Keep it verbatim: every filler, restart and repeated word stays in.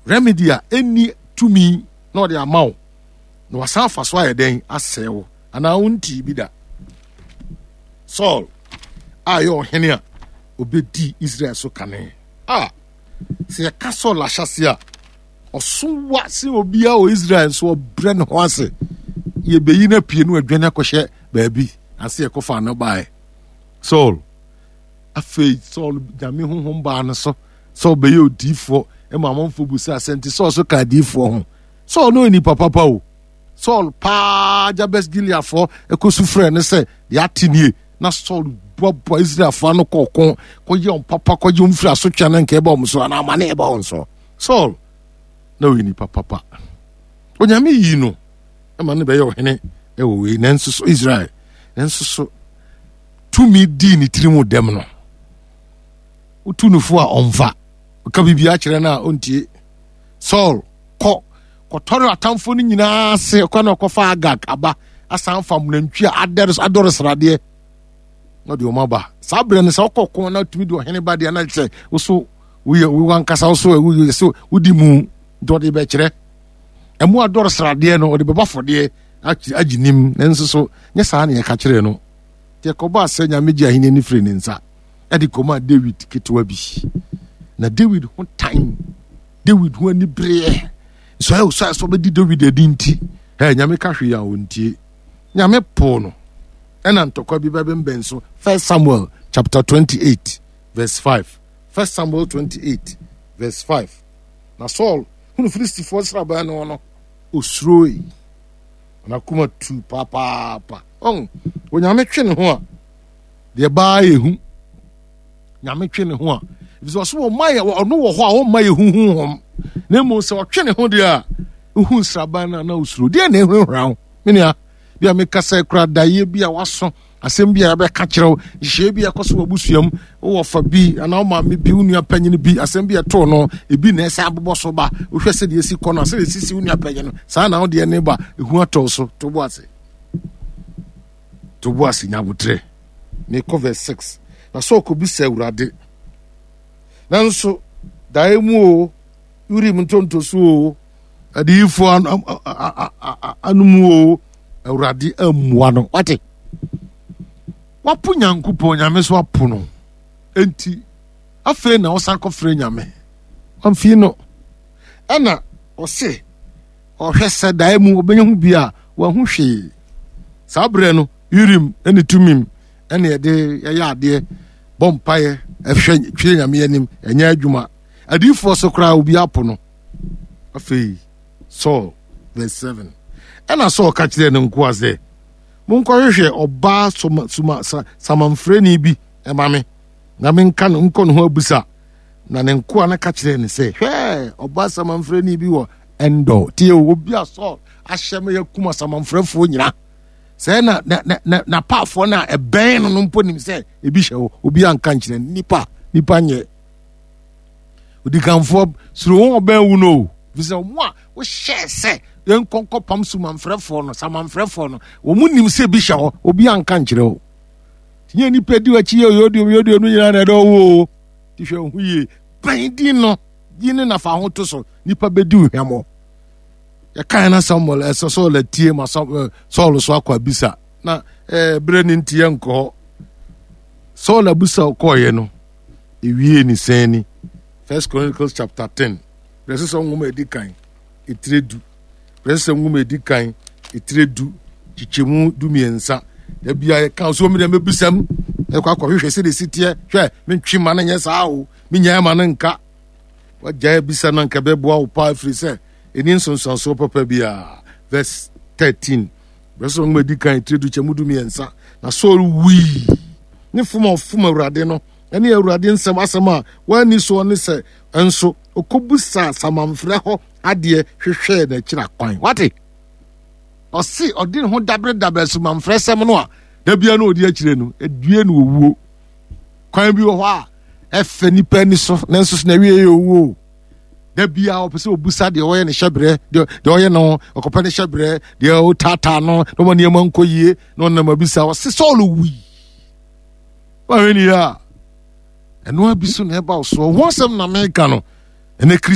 Remedy a ɛnni tumi na ɔde ama wo na wasan afa so ayɛ dɛn asɛe wo anaa wontii bi da. Saul a ɛyɛ ɔhene a obɛdi Israel so kane a sɛ yɛka Saul ahyɛse a ɔso wa sɛ obiara wɔ Israel nso ɔbrɛ ne ho ase yɛbɛyi no apue no adwane akɔhyɛ baabi ase yɛkɔfa no baeɛ. Saul afei Saul Nyame honhom baa no so sɛ ɔbɛyɛ odiifoɔ ma amanfoɔ bu sɛ asɛ nti Saul so ka adiifoɔ ho. Saul no yɛ nipa papa o. Saul paa Jabes Gileadfoɔ ɛkɔsu frɛ no sɛ deɛ ate nie na Saul boaboa Israelfoɔ ano kɔ ɔko kɔyɛ wɔn papa kɔgye wɔn firi asotwe no nka ɛba wɔn so anaa amane ɛba wɔn so. Saul na ɔyɛ nipa papa. Onyame yii no ma no bɛyɛ ɔhene ɛwɔ wei nanso so Israel nanso so tumi dii ne tiri mu dɛm no wotu no fo a ɔmfa ɔka biribi akyerɛ no a ɔntie. Saul kɔ kɔtɔre atamfo no nyinaa ase ɔkɔ na ɔkɔfa Agag aba asan fa nantwi a adɔre sradeɛ na ɔde wɔn aba. Saa berɛ no sɛ ɔkɔ ko na tumi de ɔhene ba deɛ na kyerɛ wo so woyɛ wo ankasa wo so woyɛ sɛ wodi mu nti ɔde bɛkyerɛ ɛmu adɔre sradeɛ no ɔde bɛbɔ afɔdeɛ agye nim nanso so nyɛ saa na yɛka kyerɛ no. Nti ɛkɔbaa sɛ Nyame gye ahenni no firi ne nsa ɛde kɔmaa Dawid ketewa bi. Na Dawid ho tan, Dawid ho anibereɛ, sɛ ɔsɛ sɛ ɔbɛdi Dawid adi nti, ɛ Nyame ka hwee a ɔntie. Nyame poo no. Ɛna ntɔkwa bi bɛbɛnbɛn so. First Samuel chapter twenty-eight verse five. First Samuel twenty-eight verse five. Na Saul hunu Filistifoɔ nsraban no no, osuroe. N'akoma tu papaapa. Ɔn, Onyame twe ne ho a, deɛ baa yɛ hu. Nyame twe ne ho a, efisɛ ɔso ɔma yɛ ɔno wɔ hɔ a ɔmma yɛ hu honhom. Na mmom sɛ ɔtwe ne ho deɛ a, ohu nsraban no a na osuro. Deɛ na ehurahura wo, me nua, bi a mekasa kura daeɛ bi a waso, asɛm bi a yɛbɛka kyerɛ wo, nhyehyɛeɛ bi a ɛkɔ so wɔ abusua mu, wowɔ fa bi anaa wo maame bi, wo nua panyin bi, asɛm bi a ɛtoo no, ebi na ɛsɛ abobɔ so ba. Wohwɛ sɛdeɛ esi kɔ no, sɛdeɛ esisi wo nua panyin no, saa na wo deɛ ne ba, ehu atɔ so. To bo ase. To bo ase, nya abotrɛ. Mekɔ verse six. Na Saul kɔbisa Awurade. Nanso, daeɛ mu o, Urim ntontoso o, adiyifoɔ anomu o, Awurade ammua no. Wate? Wapo Nyankopɔn, Nyame so apo no. Enti, afei na ɔsan kɔfrɛ Nyame. Ɔmfii no. Ɛna ɔse, ɔhwɛ sɛ daeɛ mu ɔbɛnya ho bi a, wahu hwee. Saa berɛ no, Urim ne Tumim ɛne ɛde yɛyɛ adeɛ, bɔ mpaeɛ, ɛhwɛ twere Nyame anim, ɛnyɛ adwuma. Adiyifoɔ so koraa obi apo no. Afei, Saul, verse seven. Ɛna Saul ka kyerɛɛ ne nkoa sɛ, monkɔhwehwɛ ɔbaa soma, soma, sa, samanfrɛni bi ɛma me, na menka no nkɔ ne ho abusa. Na ne nkoa no ka kyerɛɛ no sɛ, hwɛ, ɔbaa samanfrɛni bi wɔ Endor. Tie o, obi a Saul ahyɛ ma yɛakum asamanfrɛfoɔ nyina. Sɛ na na na na n'apaafoɔ no a ɛbɛn no no mpo nim sɛ ebi hyɛ hɔ, obi anka nkyerɛ no. Nipa, nipa nyɛ. Odikanfoɔ suro wɔn ɔbɛn wu no o. Fisɛ wɔn a wohyɛɛ sɛ yɛnkɔ nkɔpam sumanfrɛfoɔ no, samanfrɛfoɔ no, wɔn nim sɛ ebi hyɛ hɔ, obi anka nkyerɛ o. Nyɛ nipa di w'akyi yɛ oyodio oyodio no nyinaa na ɛdɔ wo o. Ti hwɛ ho yie. Bɛn din no, din no na fa ho to so. Nipa bɛdi wo hwamɔ. Yɛkae na Samuel ɛsɛ Saul atie ma Saul so akɔ abisa. Na ɛɛ berɛ ne nti yɛnkɔ hɔ. Saul abusa ɔkɔɔyɛ no, ewie ne sɛn ni. First Chronicles chapter ten. Berɛ sɛ nwoma edi kan etire du. Berɛ sɛ nwoma edi kan etire du kyekyɛmu du mmiɛnsa. Da bia yɛka so mi deɛ mɛbisam ɛkɔ akɔhwehwɛ sɛdeɛ esi teɛ. Hwɛ mentwe ma no nyɛ saa o. Menyae ma no nka. Wagyae abisa no anka bɛboa wo paa ɛfiri sɛ ɛni nsonsansoɔ papa biara. Verse thirteen. Berɛ sɛ nwoma edi kan etire du kyɛmu du mmiɛnsa. Na Saul wui ne fom a ɔfom Awurade no ɛne Awurade nsɛm asɛm a wanni soɔ ne sɛ nso ɔkɔbusaa samanfrɛ hɔ adeɛ hwehwɛɛ n'akyiri akwan. Wate? Ɔse ɔde ne ho daberedaberɛ samanfrɛ sɛm no a da bia na ɔdi akyire no, ɛdue no owuo. Kwan bi wɔ hɔ a ɛfɛ nipa ani so nanso so na ɛwie yɛ owuo. Da bia ɔpɛ sɛ ɔbusa deɛ ɔyɛ ne hyɛberɛ, deɛ ɔyɛ no, ɔkɔpɛ ne hyɛberɛ, deɛ ɔtaataa no, na ɔma nneɛma nkɔ yie, na ɔnam abisa. Ɔse Saul wui. Wahwɛ ni a, ɛno abi so na ɛba wo soɔ. Ho asɛm na meka no, ɛnɛ Kristo